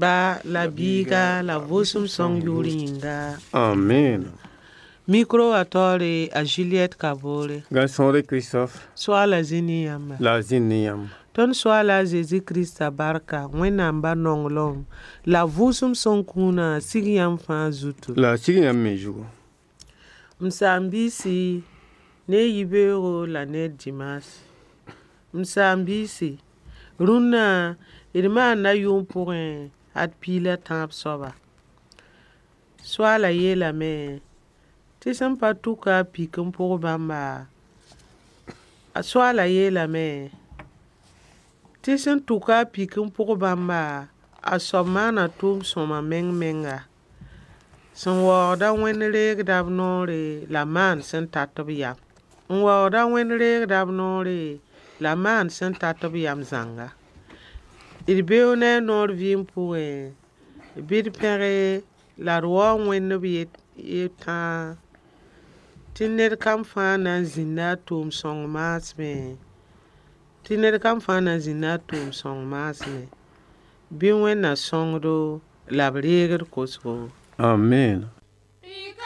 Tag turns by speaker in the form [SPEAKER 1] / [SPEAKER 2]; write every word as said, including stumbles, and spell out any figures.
[SPEAKER 1] Ba la Biiga la Vʋʋsem Sõng yʋʋr yĩnga.
[SPEAKER 2] Amen.
[SPEAKER 1] Micro wã taoore a Juliette Kabore.
[SPEAKER 2] Gãn-sõore Christophe.
[SPEAKER 1] Soaala zĩ ne yãmba.
[SPEAKER 2] La a zĩnd ne yãmb.
[SPEAKER 1] Tõnd Soaala a Zezi Krista barka, Wẽnnaam ba nonglem la Vʋʋsem Sõng kũunã sig yãmb fãa zutu.
[SPEAKER 2] La a sig yãmb me zugu.
[SPEAKER 1] M saam-biisi, ne yibeoogo la ne dimaas. M saam-biisi, rũnnã d maanda yʋʋm pʋgẽ ad piig la tãab soaba. Soaala yeelame tɩ sẽn pa tʋka a pik n pʋg bãmba, a soaala yeelame tɩ sẽn tʋka a pik n pʋg bãmba, a soab maana tʋʋm-sõma meng-menga, sẽn waoogda Wẽnd reegda b noore la maan sẽn tat b yam. N waoogda Wẽnd reegda b noore la maan sẽn tat b yam zãnga. D beoog ne a noor vɩɩm pʋgẽ, bɩ d pẽge la d waoog Wẽnd b yet tãa tɩ ned kam fãa na n zĩnda a tʋʋm-sõng maasmẽ, tɩ ned kam fãa na n zĩnda a tʋʋm-sõng maasmẽ. Bɩ Wẽnna sõngdo la b reeg d kosgo.
[SPEAKER 2] Amen.